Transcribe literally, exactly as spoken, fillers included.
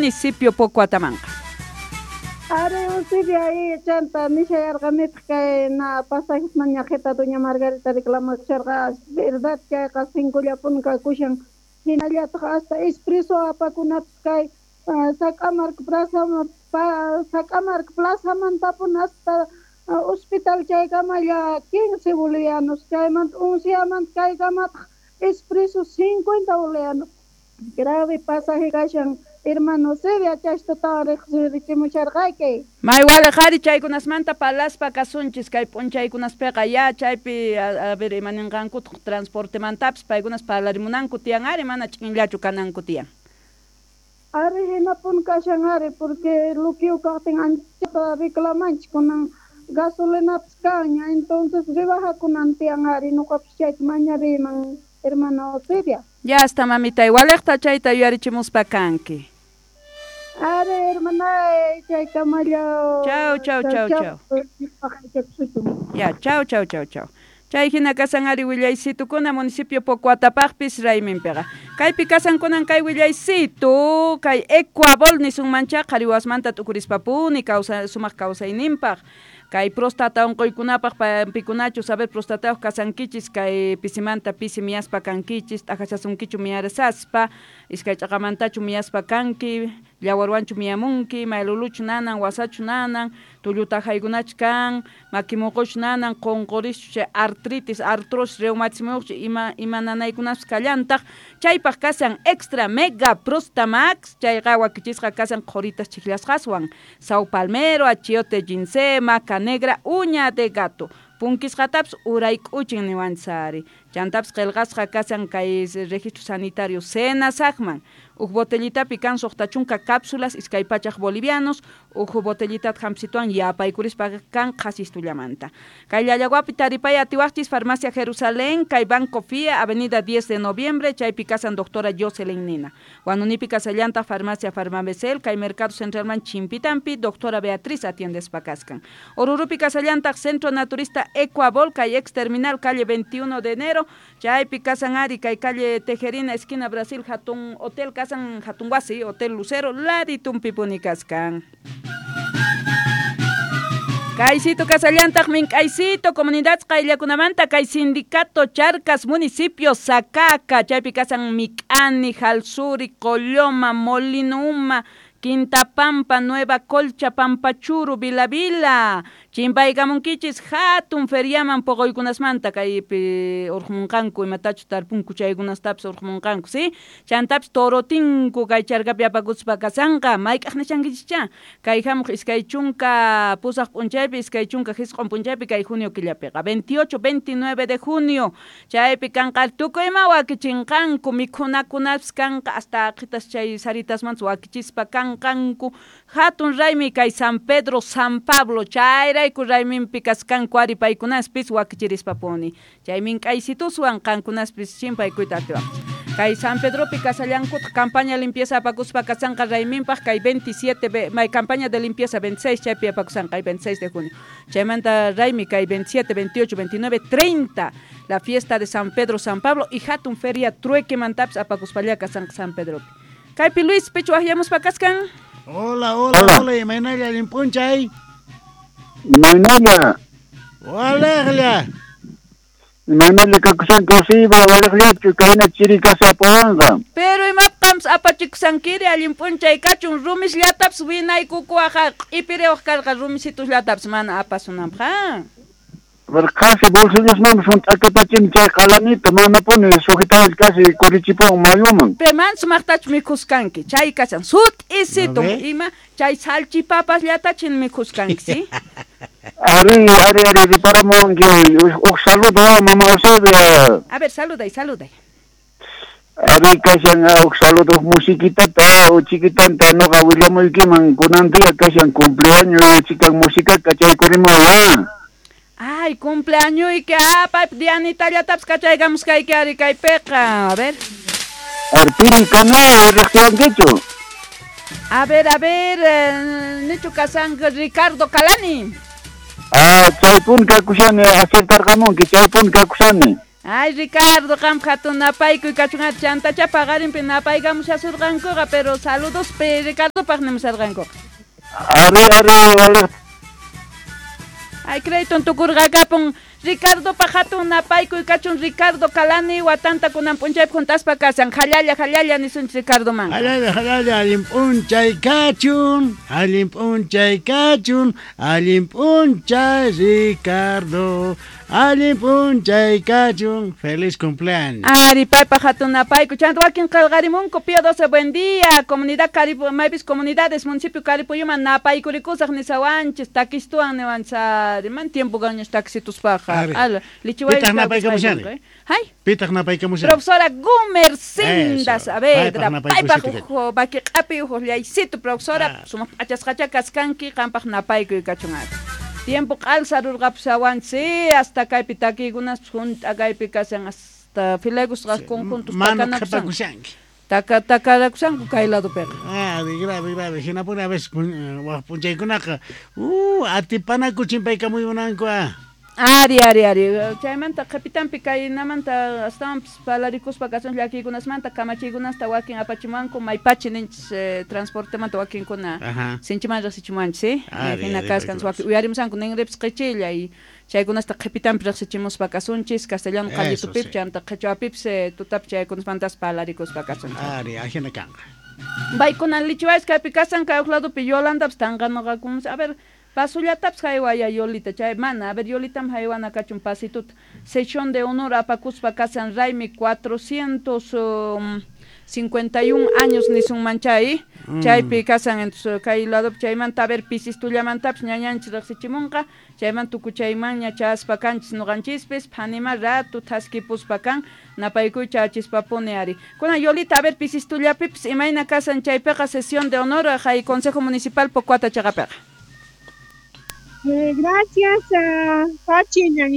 municipio Pocoatamanqa. Ari Eusebia ahí chanta nishayarqanitaq kay na pasajes mañaqita doña Margarita reclamasharqa, verdad chayqa cincollapuni kakushan, hinallataq hasta expreso apakunapis kay Sac'amarka plaza Sac'amarka plazamantapuni hasta hospital chaykamalla quince bolivianos, chaymanta onceyamanta kaykamataq expreso cincuenta bolivianos. Grave pasaje kashan hermano Eusebia, chaytatawan riqsirichimusharqayki. May waliqari chaykunasmanta palaspa kasunchis kay p'unchaykunaspiqa ya chaypi a, a ver imaninqankutaq transportemantapis paykunas parlarimunanku tiyan ari mana ch'inllachu kananku tiyan. Ari hinapun kashan ari porque lukiu kaqtin anchata reclamanchik kunan gasolinapis kanña, entonces rebajakunan tiyan ari nuqapis chayta mañariyman hermano Eusebia. Ya está mamita, igualejta chayta yuyarichimuspa kanki. Ari hermana chaykamalla. Chau chau chau chau. Ya chau chau chau chau. Chay hina kasan ari willaysitukuna municipio Pocoatapaqpis rayminpiqa. Kaypi kasankunan kay willaysitu kay Ecuabol nisunmancha qhariwasmanta t'ukurispapuni kawsa sumaq kawsayninpaq. Kay prostata unquykunapaq pikunachu saber prostatayuq kasankichis kay pisimanta pisi miyaspa kankichis t'ajachasunkichu miyarasaspa iskay ch'aqamantachu miyaspa kanki llawarwanchu miyamunki mayluluchu nanan wasachu nanan tullutajaykunachu kan makimuquchu nanan qunqurischu chay artritis artrosis reumatismuyuqchu ima ima nanaykunapas kallantaq chaypaq kasan extra mega prostamax chayqa wakichisqa kasan qhuritas chiklasqaswan sao palmero achiote ginseng maca negra uña de gato punkisqatapis urayk'uchin niwanchis chantapis qillqasqa kasan kay registro sanitario Senasaqman uj botellitapi kan suqta chunka cápsulas iskay pachaq bolivianos uj botellitata hamp'situwan yapaykurispa kan qhasistullamanta kay Llallaguapi taripay atiwaqchis farmacia Jerusalén kay Banco Fia avenida diez de noviembre chaypi kasan doctora Jocelyn Nina Huanunipi kasallantaq farmacia Farmabecel kay Mercado Centralman Chimpitampi doctora Beatriz atiendespa kaskan Orurupi kasallantaq Centro Naturista Ecuabol kay ex terminal calle veintiuno de enero chaypi kasan ari kay calle Tejerina esquina Brasil hatun hotel kasan hatun wasi hotel Lucero laditunpipuni kaskan. Kaysito kasallantaq mink'aysito comunidad qayllakunamanta kay sindicato Charcas municipio Sacaca chaypi kasan Mik'ani, Jalsuri, Colloma, Molino Uma, Quinta Pampa, Nueva Colcha, Pampachuru, Vila Vila. Chimpaykamunkichis hatun feriaman poqoykunasmanta kaypi urqmunqanku imatachu tarpunku chaykunastapis urqmunqanku, si? Chantapis torotinku kay charkapi apakuspa kasanqa mayk'aq nishankichis kay hamuq iskay chunka pusaq p'unchaypi iskay chunka hisq'un p'unchaypi kay junio killapiqa veintiocho, veintinueve de junio chaypi kanqa tukuy ima wakichinqanku mikhunakunapis kanqa hasta aqitas chay saritasmantas wakichispa kanqanku hatun raymi kay San Pedro San Pablo chayrayku rayminpi kaskanku ari paykunaspis wakichirispapuni chay mink'aysituswan qankunaspis chimpaykuyta atiwaqchis kay San Pedropi kasallankutaq campaña limpieza apakuspa kasanqa rayminpaq kay veintisiete may campaña de limpieza veintiséis chaypi apakusanqa kay veintiséis de junio chaymanta raymi kay veintisiete, veintiocho, veintinueve, treinta la fiesta de San Pedro San Pablo y hatun feria truequemantapis apakuspalla kasanqa San Pedropi kaypi Luis pichu waqyamuspa kaskan. Hola, hola, hola, hola, imaynalla allinp'unchay. Imaynalla. Waliqlla. Imaynalla kakusanki Eusebia waliqllachu kayna chiri kasa apawanqa. Pero imapqams apachikusankiri allinp'unchay kachun rumisllatapis winaykukuwaqa q'ipiriwaq karqa rumisitusllatapas mana apasunanpaq. Casi bolsillasmanpas hunt'akapachini chay qalanita manapuni sujetawach casi kurichipuwan mayuman. Pero man sumaqtachu mikhuskanki chay kashan sut'isitu ima chay salchipapasllatachi mikhuskanki, si? Ari, ari, ari, riparamuwanki uj saludo mama Eusebia. A ver, saluday, saluday. Ari kashan uj saludo uj musiquitata chiquitanta noqa willamuykiman kunan día kashan cumpleaños chikan musicaka chaykurimuwan. Ay, cumpleaños y que ah, pap, Dianita llatapis kachaykamusqayki ari kaypiqa. A ver. Arpiri kana riqsiwankichu. A ver, a ver, eh, nichu kasanqa Ricardo Calani. Ah, chaypun kakushani acertarqamunki, chaypun kakushani. Ay, Ricardo, qam hatun napaykuy kachun chantacha paqarinpi napaykamushasurqankuqa, pero saludospi Ricardopaq nimusharqankuqa. Ari, ari, waliq. Ay, crédito tukurqakapun Ricardo hatun napaykuy kachun Ricardo Calani watanta kunan p'unchaypi juntaspa kasan jalalla jalalla nisunchik Ricardo man. Jalalla jalalla allin p'unchay kachun, allin p'unchay kachun, allin p'unchay Ricardo, allin p'unchay kachun, feliz cumpleaños. Ari paypa hatun napaykuy chanta wakin qillqarimunku Pío doce buen día, comunidad Caripu, maypis comunidades municipio Caripuyuman napaykurikusaq nisawanchis takistuwan niwanchis man tiempo gañas taxituspaq. Ala, lichiway Pitaq napaykamushani? Hay. Pitaq napaykamushani? Profesora Gumercinda Saavedra, paypaq uj vakiq'api uj llaysitu profesora, sumaq p'achasqacha kaskanki qampaq napaykuy kachun ari. Tiempo q'alsarurqapushawanchis, hasta kaypi takiykunas junt'a kaypi kashan hasta filegusqa conjuntos Mana takanakusan. qhipakushanki. Taka takarakusanku kay ladopiqa. Ah, de grave, grave. Hinapuni a veces waj p'unchaykunaqa, uh, atipanaku chimpaykamuymunanku ah. Ari, ari, ari. Chaymanta qhipitanpi kaynamanta astawanpis palarikuspa kasun llakiykunasmanta kamachiykunasta wakin apachimuwanku maypachi ninchis eh, transportemanta wakinkuna sinchiman riqsichimuwanchis, ¿sí? Ari, Hina ari, kaskan wakin uyarimusanku ninripis qichilla y chaykunasta qhipitanpi riqsichimuspa kasunchis castellano Eso, qallitupip sí. chanta qhichwapipis eh, tutapi chaykunasmantas palarikuspa kasunchis. Ari, ajina kanqa. Baykunan lichiwayis kaypi kasan kay uq ladopi Yolandapis tanqanuqakumus. A ver, pasullatapis haywaya Yolita, chay mana, a ver, Yolitam haywana kachun pasituta. Sesión de honor apakuspa kasan raymi cuatrocientos um, cincuenta y un años nisunman chay, Mm. chaypi kasan entonces kay ladopi chaymanta a ver pisistullamantapas ñañanchis riqsichimunqa, chayman tukuchaymanña chaspa kanchis nuqanchispis, phanima ratu thaskipuspa kan, napaykuy chachispapuni ari. Kunan Yolita, a ver pisistullapipis imayna kasan chaypiqa sesión de honor hay Consejo Municipal Pocuata chaqapiqa. Eh, gracias, uh, Pachi.